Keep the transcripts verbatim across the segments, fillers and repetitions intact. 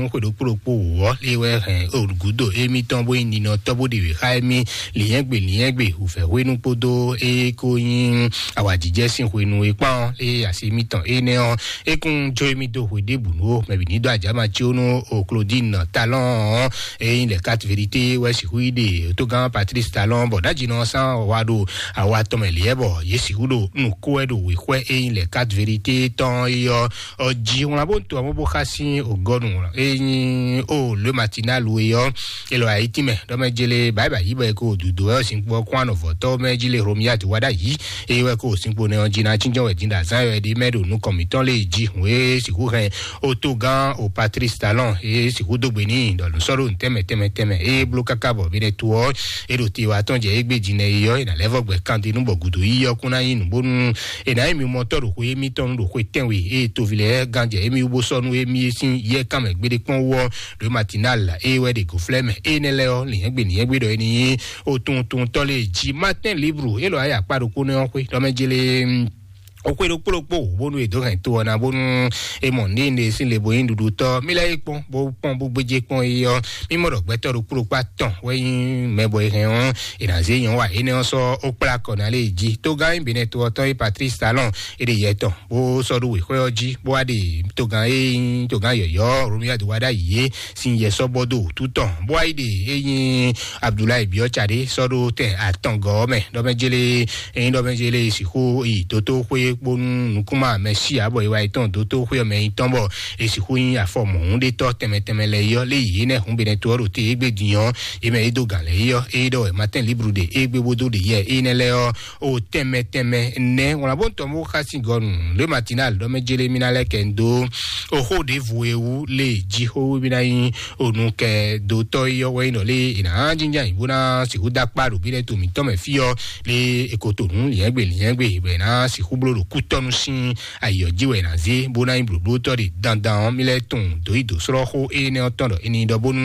xwe ɖokpó ɖokpó wǒ ɔ́, lé wɛ hɛn gǔdo émítɔn bó nyí ninɔtɔ́ bó ɖe wě xá émí lǐnyɛ́gbe lǐnyɛ́gbe wǔvɛ́ hwenu kpódó é ko nyí awǎjijɛ sín hwenu é kpán ɔ́, lé asi émítɔn énɛ́ ɔ́, é kún jó émí dó hwe ɖěbǔ nú ó. Mɛ bǐ ní dó ajǎma cí ó nú o Claudine Talon ɔ́, é nyí lɛ quatre vérité wɛ sixú yi ɖe tógán Patrice Talon bɔ ɖájínɔ sán wa ɖo awa tɔn mɛ lě bɔ yě sixú ɖo nǔ kó wɛ ɖo wěxwɛ é nyí lɛ quatre vérité tɔn é ɔ́ ɔ jí wlán bó ń to amú bó xá sín ògɔnu é nyí ó le matinal é ɔ́. Elɔ ayítí mɛ ɖɔmɛ jele báyìí báyìí bɔ é ko dùdú wɛ ó sin kpɔ kún anɔ vɔtɔ mɛ jí le Romiat wá ɖá yìí é wɛ ko sin kpo nɛ ɔ́ jí ná cínjɔ́n wɛ dín ɖo azán yɔ ɛɖí mɛ ɖo nukɔn mǐtɔn lé jí hùn é sixú hɛn ó tó gán ó Patrice Talon é sixú dó gbe ní ɖɔ nǔ sɔ́ ɖo tɛmɛ tɛmɛ tɛmɛ é bló káká bɔ bí ɖɛ tó ɔ́ é ɖo te wa tɔn jɛ égbé jí nɛ é yɔ é nà lɛ́ vɔ gbɛ kande nú bɔ gǔdo yí ɔ́ kún ná nyí nǔ bónú è nǎ nyí mi mɔtɔ́ ɖo xwe émítɔn nu ɖo xwe tɛ́nwe ée toví lɛ́ɛ gán jɛ émí wú bó sɔ́ nú émí sín yɛ kánmɛ gbéɖé kpɔ́n wú ɔ́, ɖo matinal ée wɛ ɖe gǒflɛ́ mɛ énɛ́ lɛ́ɛ ɔ́, lǐnyɛ́gbe lǐnyɛ́gbe ɖɔ é ní nyí otuntuntɔ́ lé jí. Matin libre élɔ́ ayé akpá ɖokpó nɛ́ ɔ́ xwé ɖɔmɛ jélé ó xwé ɖokpó ɖokpó bónú è dǒ hɛn to ɔ́ ná bónú é mɔ ní ne sín le bo nyí ɖuɖutɔ́. Mí lɛ́ yí kpɔ́n bó kpɔ́n bó gbéjé kpɔ́n é ɔ́, mí mɔ ɖɔ gbɛtɔ́ ɖokpó ɖokpó atɔn wɛ nyí mɛ bɔ è hɛn ɔ́, è nǎ zé nyɔ̌ wa énɛ́ ɔ́ sɔ́ ó kplá kɔ ná lé jí. Tógán nyí Benɛ́to ɔ́ tɔn é Patrice Talon é ɖe yɛ tɔn bó sɔ́ ɖó wěxwɛ́ ɔ́ jí bó wá ɖe togán e nyí togán yɔ̌yɔ́ Romia do wá ɖ'ayǐ é sín yɛ sɔ́ bɔ dó wǔtu tɔn bó wá yi ɖe e nyí Abdoulaye Biɔ́ Tsadé sɔ́ ɖó tɛn atɔngɔ́ ɔ́ mɛ ɖɔmɛjélé e nyí ɖɔmɛjélé e sixú yi dótóxwé kpónú nukúnmá mɛ sí ǎ bɔ e wá yi tɔn dótóxwé ɔ́ mɛ nyí tɔn bɔ e sixú nyí afɔ mɔ̌húnɖétɔ́ tɛnmɛ tɛnmɛ lɛ́ɛ yi ɔ́ lé yě nɛ́ hǔn Benɛto ɔ́ ɖo te égbé din ɔ́, é mɛ é dó gǎn lɛ́ɛ yi ɔ́ é ɖɔ wɛ Matin Libre ɖe égbé bó dó ɖe yɛ énɛ́ lɛ́ɛ ɔ́ o tɛnmɛ tɛnmɛ nɛ́ wlán bó ń tɔn bó xá sín gɔnu le matinal ɖɔ mɛ jélé mí ná lɛ́ kɛ ń dó o xó ɖěvo e wú lé jí xó wú mí ná nyí o nu kɛ dó tɔ́ yi ɔ́ wɛ nyí nɔ lé è nǎ jínjɔ́n ayǐ bó ná sixú dó akpá ɖo bí lɛ́ to mǐtɔn mɛ fí ɔ́ lé è ko to nǔ liɛ́ngbè liɛ́ngbè bɔ è nǎ sixú bló ɖo kútɔ́nu sín ayǐ ɔ́ jí wɛ è nǎ zé bó ná nyí blǒblótɔ́ ɖe dandan ɔ́ mí lɛ́ tunwun dǒ yi dǒ slɔ́ xó énɛ́ ɔ́ tɔn ɖɔ è nǐ ɖɔ bónú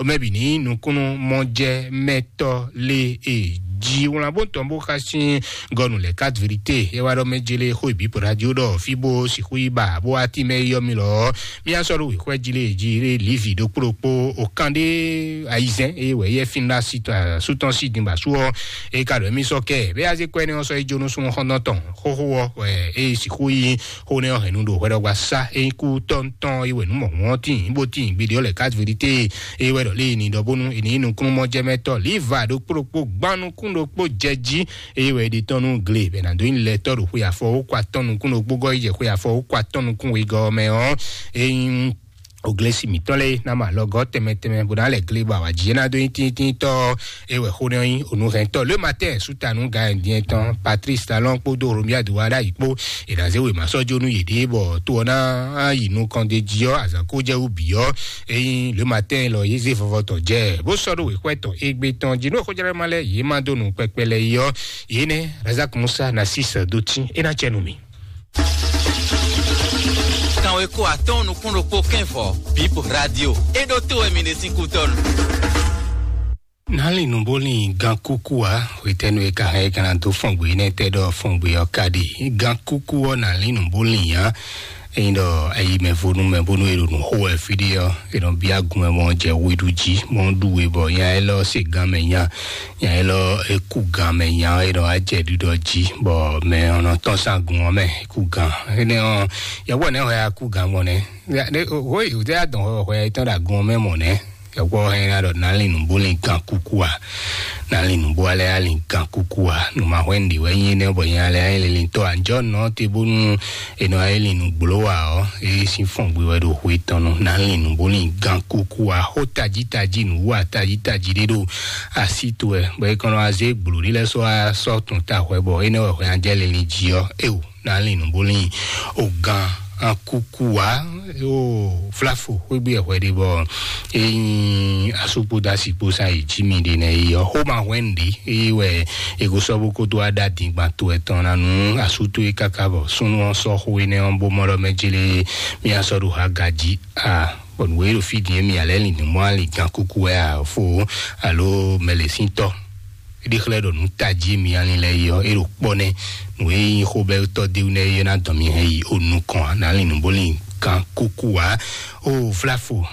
mɛ bǐ ní nukúnnú mɔjɛmɛtɔ́ lé e jí wlán bó tɔn bó xá sín gɔnu lɛ quatre vérité é wá ɖɔ mɛ jélé xó ìbí po radio ɖɔ fí bó sixú yi ba bó wá tí mɛ yɔ mi lɔ mía sɔ́ ɖo wěxwɛ jí lé jí lé livi ɖokpó ɖokpó o kan ɖé ayizɛn é wɛ yɛ fin ɖa si sútɔn si din ba sú ɔ é ka ɖɔ mí sɔ kɛ bɛ azé kɔ ɛnɛ ɔsɔ é jónú súnmọ́ xɔndɔn tɔn xóxó ɔ wɛ é sixú yi xó nɛ ɔ hɛn nu ɖo hwɛɖɔgba sá é kú tɔntɔn é wɛ nú mɔ hɔn tín bó tín gbede ɔ lɛ quatre vérité é wɛ ɖɔ lé ní ɖɔ bónú é ní nukúnnú mɔjɛmɛtɔ liva ɖokpó ɖokpó gbannukún ɖokpó jɛ jí é wɛ ɖi tɔn nú gle bɛ nado nyí lɛtɔ ɖo xwe afɔ wó kɔ atɔn nukún ɖokpó gɔ yi jɛ xwe afɔ wó kɔ atɔn nukún wegɔ mɛ ɔ é nyí oglesi mǐtɔn lɛ́ɛ ná mɔ alɔgɔ́ tɛnmɛ tɛnmɛ bó ná lɛ glé bɔ awǎjijɛ ná dó nyí tíntínntɔ́ é wɛ xó nɛ́ nyí onú hɛntɔ́ le matin sútanu gayɛndiɛn tɔn Patrice Talon kpódó Romia do wá ɖ'ayǐ kpó è nǎ zé wěma sɔ́ jó nú yěɖée bɔ to ɔ́ ná yi nukɔn d'é jí ɔ́ azǎn kó jɛ wú bǐ ɔ́ é nyí le matin lɔ yě zé vɔvɔ tɔn jɛ bó sɔ́ ɖó wěxwɛ́ tɔn égbé tɔn jí nú xójlɛ́ ma lɛ́ yě má dó nǔ kpɛkpɛ lɛ́ɛ yi ɔ́ yě nɛ́ Razak Musa ná sí sɛ dó tín é ná cɛ nú mì. Kanweko atɔ́ɔ́n nukún ɖokpó kɛ́n vɔ, Bib Radio, é ɖó to wɛ mi ɖe sín kútɔ́nu. Nalin nuboli gan kuku a wetɛnu e ka hɛn e kana do fɔngbe ne tɛ ɖɔ fɔngbe ɔ ka ɖi gan kuku ɔ nalin nuboli ya. Eyin ɖɔ ayi mɛ vonu mɛ bonu e ɖo nu xo wɛ fi ɖi ɔ e nɔ bia gun mɛ mɔ jɛ weɖu jí mɔ ɖu we bɔ nya elɔ se gan mɛ nya nya elɔ eku gan mɛ nya e nɔ ajɛ ɖuɖɔ jí bɔ mɛ ɔnɔ tɔn sa gun ɔ mɛ eku gan ene ɔ yɛwɔ ne hɔ ya ku gan mɔ ne. Hoi o te ya dɔn hɔ hɔ ya tɔn da gun ɔ mɛ mɔ ne. Yɔkpɔ hɛn na ɖɔ nalin nuboli gan kuku a nalin nubo alɛ alin gan kuku a numa hwɛ ndi wɛ nyi ne bɔ nya lɛ alin lin tɔ anjɔ nɔ te bonu enɔ alin nu gblo wa ɔ e sin fɔn gbe wɛ ɖo hwe tɔn nu nalin nuboli gan kuku a ho taji taji nu wa taji taji ɖe ɖo asi to wɛ bɔ e kɔnɔ aze gblo ɖi lɛ sɔ asɔ tun ta hwɛ bɔ enɛ wɛ hwɛ anjɛ lili ji ɔ eo. Nalin nuboli o gan akuku wa o flafo xwegbe ɛhwɛ ɖe bɔ eyin asukpo dasi kpo sa yi ji mi ɖe nɛ yi ɔ xoma hwɛn ɖe eye wɛ ego sɔ bo kodo ada dingban to ɛtɔn na nu asuto yi kaka bɔ sunu ɔ sɔ xo enɛ ɔ bo mɔ ɖɔ mɛ jele mi asɔ ɖo ha gaji a bɔ nu wo yi ɖo fi din mi alɛ lin mɔ ali gan kuku wɛ a fo alo mɛlɛsintɔ. Eɖi xlɛ ɖo nu taji mi alin lɛ yi ɔ eɖo kpɔ nɛ nu e yi xo bɛ tɔ de ne ye na dɔn mi hɛn yi o nukɔn a na lin nu bó lin gan kuku wa o flafo.